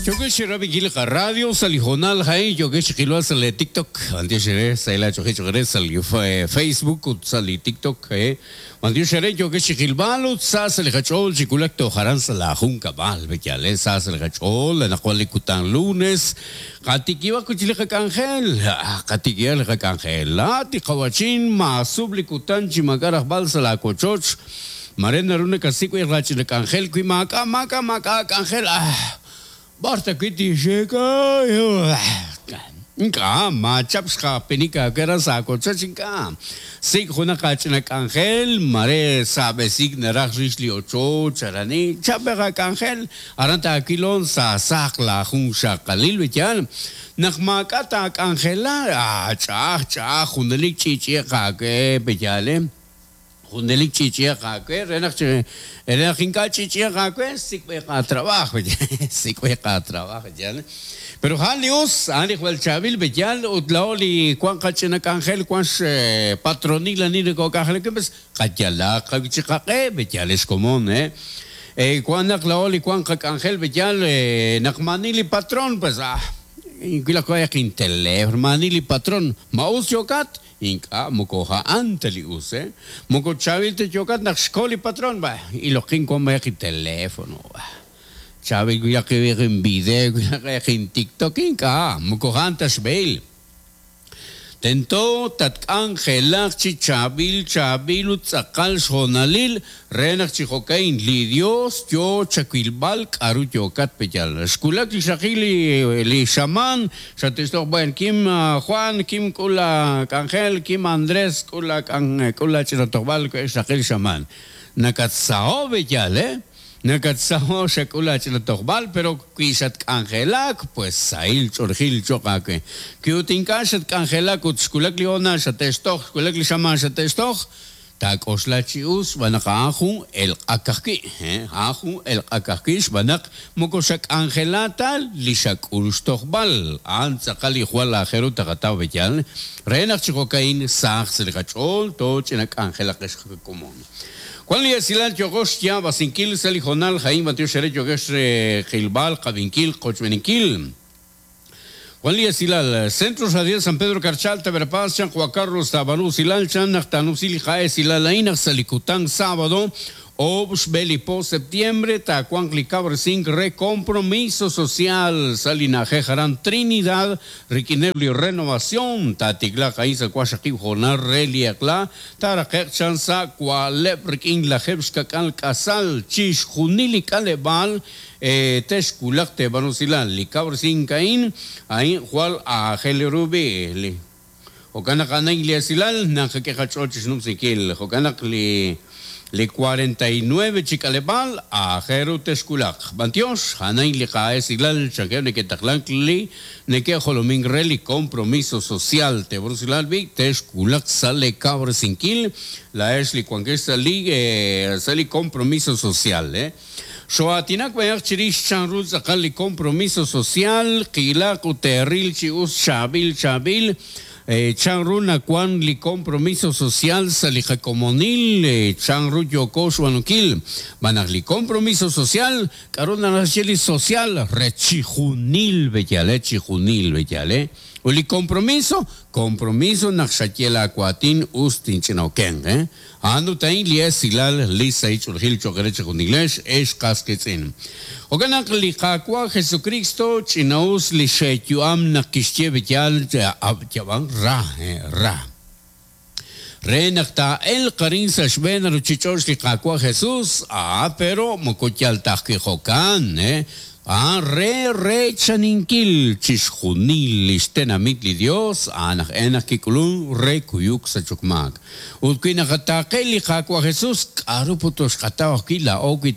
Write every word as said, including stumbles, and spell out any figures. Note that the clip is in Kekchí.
Yokesh rabinkil radio salijonal hay yokesh qilwa sal TikTok antioshere saila choje chogre sal Facebook ut sal TikTok eh antioshere yokesh qilbal ut sa sal khachol chikulak to haran sala jun kabal bekyale sa sal khachol naqwal kutan lunes qatikiwa kuchile khangel qatikiwa khangel la tiqawachin ma subli kutan chimakaraj bal sala kochoch marena rune kasik y rachil kangel kui maka maka maka kangel ah Barta kiti sheka nka ma chapska penika kera sa ko chachinka sik juna kachina kangel mare sabe sik naraj rishli ocho charani chapega kangel aranta kilon sa sakla jun shakalil betian nakmakata kangela ah chach chach jundelik chichi ka ke betiale Jundelik chichi ka renach renach inka chichi ka sik trabajo sik trabajo ya pero halius ali wal chabil betial utlaoli kwan kachina kangel kwan patronila ni ko kangel que pues kayala ka ke betial es común eh eh kwan naklaoli kwan kangel betial nakmanili patron pues ah inkila ko ya quintele manili patron maus yokat inka mokoja anteli use moko chavil te yokat nakshkoli patron ba y lo kin con vaya teléfono ba chavil ya que ver en video ya que en TikTok inka mokoja antas bail tento tat angelak chi chabil chabil utzakal shonalil renak chi jokain li Dios yo chaquilbal karu yokat peyal skulak li shakili li shaman shatesto buen kim Juan kim kula Angel kim Andrés kula kula chinotobal shakil shaman nakatsao beyal eh Nakatsao shakula chinotobal pero quisat angelak pues sail chorgil chokake kiutinka shat angelak utskulak liona shatestoch skulak li shaman shatestoch tak oslachius banaka aju el akaki eh aju el akaki banak mokosak angelatal lishak ulstochbal antzakali juala jeru takataw betial renach chikokain sach selgachol to chinak angelak común Juan Liasilal Yogosh ya Basinkil Salijonal Jaim Mateo Shere Yogesh Gilbal Kabinkil Kochmeninkil Juan Liasilal Centro Radial San Pedro Carchal Taberpaz Chan Juan Carlos Tabanú Silal Chan Nachtanusil Jae Silal Aina Salicután sábado Obs Belipo septiembre Tacuan Clicabre cinco Recompromiso Social Salina Jaran Trinidad Riquinebli Renovación Tatigla Kaisa Kwashaki Jonar Reliakla Tarakek Chansa Kualep Rikin La Jebskakal Kasal Chish Junili Kalebal Teshkulak Tebanusilan Licabre cinco Ain Ain Jual Ajel Rubi Jokanakana Igliasilal Nanjaquejachochis Numsikil Jokanak Li Le cuarenta y nueve chikalebal a Jeru Teskulak. Bantios, Hanain Lijaes Iglal, Chaqueo Nequetaclancli, Neque Jolomín Reli, Compromiso Social, Tebrusilalbi, Teskulak, Sale Cabre Sinquil, la Esli Cuanquesa Li, Sali Compromiso Social, eh. Xoatinak bayaq chirish chanruz akali compromiso social, Quilak uterril chius chabil chabil. Chanruna cuan li compromiso social salija comunil chanru yokosh wanukil banag li compromiso social karuna nasheli social rechijunil bellale chijunil bellale o li compromiso compromiso naxakiela kuatin ustin chinoken eh ando tain li esilal li saichulgil chokereche junilesh es casquetzin Oganak li kakwa Jesucristo chinaus li shekyuam nakishche bellal yaban ra ra Renakta el karin sashben ruchichosh li kakwa Jesús ah pero mokotyal tajkijokan eh Ah, re, re, chaninkil, chishjunil, listenamit li Dios, anaj enaj kikulun, re, kuyuk, sachukmak. Utkuinakatake li kakwa Jesús, karuputos katawakila, oki